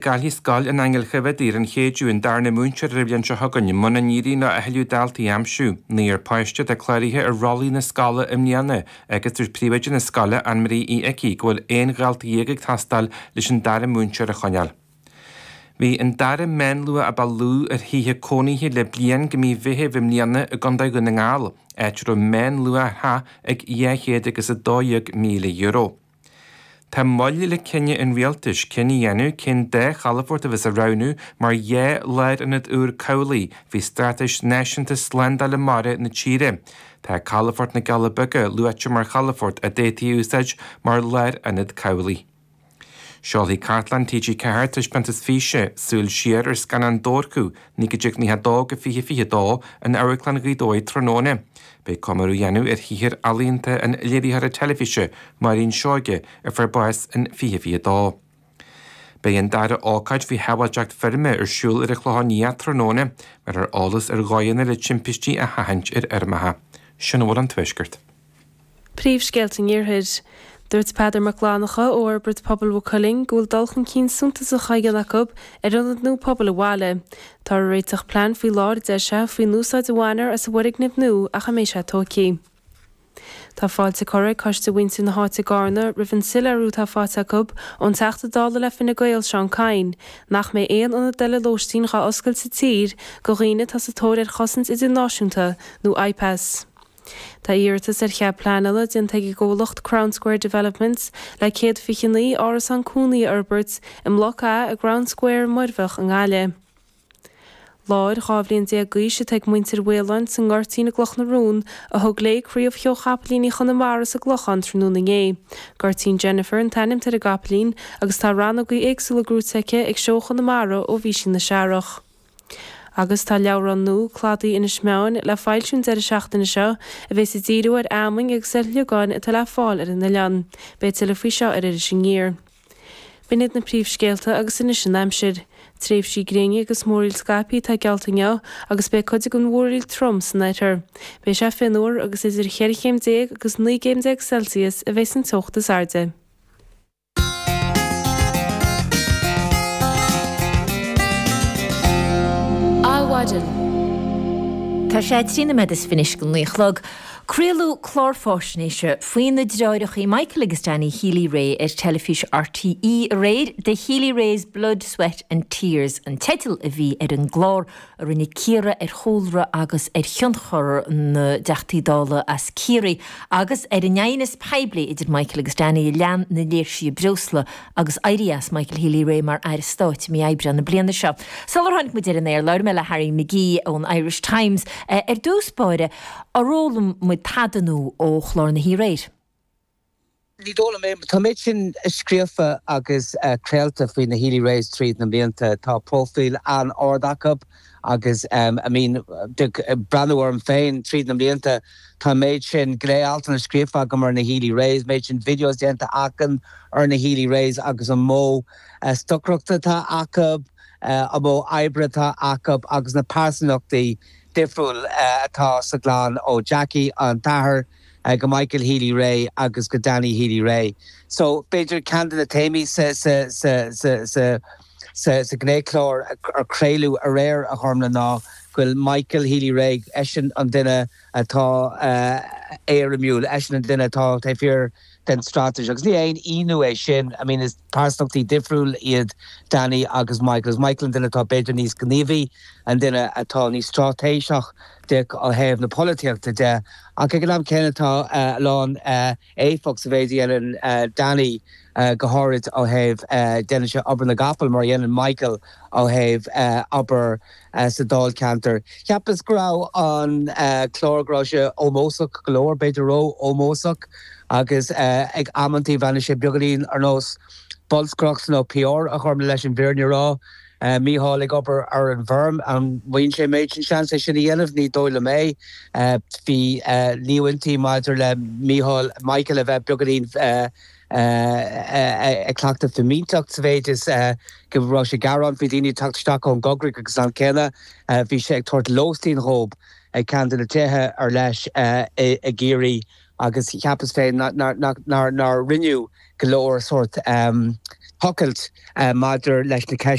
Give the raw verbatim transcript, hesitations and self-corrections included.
Caillfidh Scoil an Aingil Chaimh ar an Chéideadh an darna múinteoir ar an bhliain seo chugainn muna n-éiríonn leo a thuilleadh daltaí a aimsiú. Naonúr páiste atá cláraithe ar rollaí na scoile i mbliana agus dúirt príomhoide na scoile Anne-Marie Uí Icí go bhfuil aon dhalta dhéag ag teastáil leis an dara múinteoir a choinneáil. Bhí an dara meánluach a ba lú ar thithe cónaithe le bliain go mí Mheithimh i mbliana i gContae Dhún na nGall, áit a raibh meánluach ar theach ag dhá chéad agus a dó dhéag míle euro. Tá moill le cinneadh an rialtais cinneadh a dhéanamh cén dá chalafort a bheas á roghnú mar dhá lárionad úr cabhlaigh faoi Straitéis Náisiúnta Slándála Mara na tíre. Tá calafort na gCealla Beaga luaite mar chalafort a d'fhéadfaí a úsáid mar lárionad cabhlaigh. Seolfaidh Cartlann TG Ceathair taispeántas físe súil siar ar scannán Dobharchú naoi déag nócha a dó go fiche fiche dó in Amharclann Ghaoth Dobhair tráthnóna. Beidh comóradh á dhéanamh ar shaothar ealaíonta an léiritheora teilifíse Máirín Seoige a fuair bás in fiche fiche dó. Beidh an dara ócáid faoi shábháilteacht feirme ar siúl ar an Chlochán Liath tráthnóna, mar ar eolas ar dhóigheanna le timpistí a sheachaint ar fheirmeacha. Sin a bhfuil an Tuaisceart. Príomhscéalta an Iarthair. Dúirt Peadar Mac Fhlannchadha ó Fhorbairt Pobail Mhaigh Cuilinn go bhfuil dul chun cinn suntasach á dhéanamh acu ar ionad nua pobail an bhaile. Tá réiteach plean faoi láthair a deir sé faoin úsáid a bhainfear as an bhfoirgneamh nua ach a mbeidh sé tógtha. Tá fáilte curtha ag coiste mhuintir na háite i gCarna roimh an soiléiriú atá faighte acu ón Teachta Dála le Fine Gael Seán Kyne nach mbeidh aon ionad eile lóistín dhá oscailt sa tír do dhaoine atá sa tóir ar chosaint idirnáisiúnta nó IPAS. Tá iarratas ar chead pleanála déanta ag an gcomhlacht Crown Square Developments le céad fiche naoi árasán cónaí a fhorbairt i mBloc A i gCrown Square Muirbheach i nGaillimh. Láir dhá bhliain déag d'aois atá ag muintir Mhaoláin sa nGoirtín i gCloch na Rón a thug léi craobh Sheó Chapaillíní Chonamara sa gClochán tráthnóna inné. Goirtín Jennifer an t-ainm atá ar an gcapaillín agus tá rannógaí éagsúla gnóite aici ag Seó Chonamara ó bhí sí ina searrach. Agus tá leabhrán nua Cladaí Inis Meáin le foilsiú an deireadh seachtaine seo a bheas ag díriú ar fheamainn agus ar shliogáin atá le fáil ar an oileán. Beidh tuilleadh faoi seo ar Iris Aniar. B'in iad na príomhscéalta agus anois an aimsir. Tréimhsí gréine agus múraíl scaipthe atá geallta inniu agus beidh cuid den mhúraíl trom san oirthear. Beidh sé fionnuar agus idir cheithre chéim déag agus naoi gcéim déag Celsius a bheas an teocht is airde. Adhmhaidin. Tá sé trí nóiméad is fiche go naoi a chlog. Craoladh clár faisnéise faoi na deartháireacha Michael agus Danny Healy-Rae ar teilifís RTÉ aréir The Healy-Raes Blood, Sweat and Tears an teideal a bhí ar an gclár a rinne cíoradh ar chúlra agus ar thionchar na dTeachtaí Dála as Ciarraí agus ar an aighneas poiblí idir Michael agus Danny a lean na léirsithe breosla agus éirí as Michael Healy-Rae mar aire stáit i mí Aibreáin na bliana seo. Sular tháinig muid ar an aer labhair mé le Harry McGee ón Irish Times ar dtús báire ar fhoghlaim muid tada nua ó chlár na haréir. Ní dóigh liom é tá méid sin scríofa agus craolta faoi na Healy-Raes tríd na blianta tá profile an-ard acu agus um, I mean breathnú orm féin tríd na blianta tá méid sin gné-altanna scríofa agam ar na Healy-Raes, méid sin videos déanta agam ar na Healy-Raes agus an modh uh, stocaireachta atá acu uh, an modh oibre atá acu agus na pearsanachtaí difriúil uh, atá sa gclann ó Jackie an t-athair uh, go Michael Healy-Rae agus go Danny Healy-Rae. So b'fhéidir ceann de na téamaí sa sa sa sa sa sa sa gnéchlár ar craoladh aréir a chormla ná go bhfuil Michael Healy-Rae eisean an duine atá uh, éirimiúil eisean an duine atá taobh thiar den straitéis agus ní haon ionadh é sin I mean is pearsanachtaí difriúil iad Danny agus Michael. Is Michael an duine atá b'fhéidir níos gníomhaí an duine atá níos straitéiseach de ó thaobh na polaitíochta de ach ag an am céanna tá uh, lán uh, éifeacht sa mhéid a dhéanann uh, Danny uh, go háirid ó thaobh uh, déanann sé obair na gcapall mar a dhéanann Michael ó thaobh uh, obair uh, sa Dáilcheantar. Cheapas go raibh an uh, clár go raibh sé ómósach go leor b'fhéidir ró-ómósach agus uh, ag amantaí bhí sé beagáinín ar nós bolscaireacht nó PR a chum leis an bhfírinne a rá. Uh, Mícheál ag obair ar an bhfeirm an bhfuil sé méid sin seans é sin a dhéanamh ní dóigh liom é uh, bhí uh, líomhaintí maidir le Mícheál Michael a bheith beagáinín uh, ag cleachtadh fimínteacht sa mhéid is go raibh sé ag gearán faoi daoine teacht isteach ón gcoigrích agus an céanna bhí sé ag tabhairt lóistín dóibh ag ceann de na tithe ar leis i gCiarraí agus cheapas féin nár rinneadh go leor sort um, tochailt uh, maidir leis na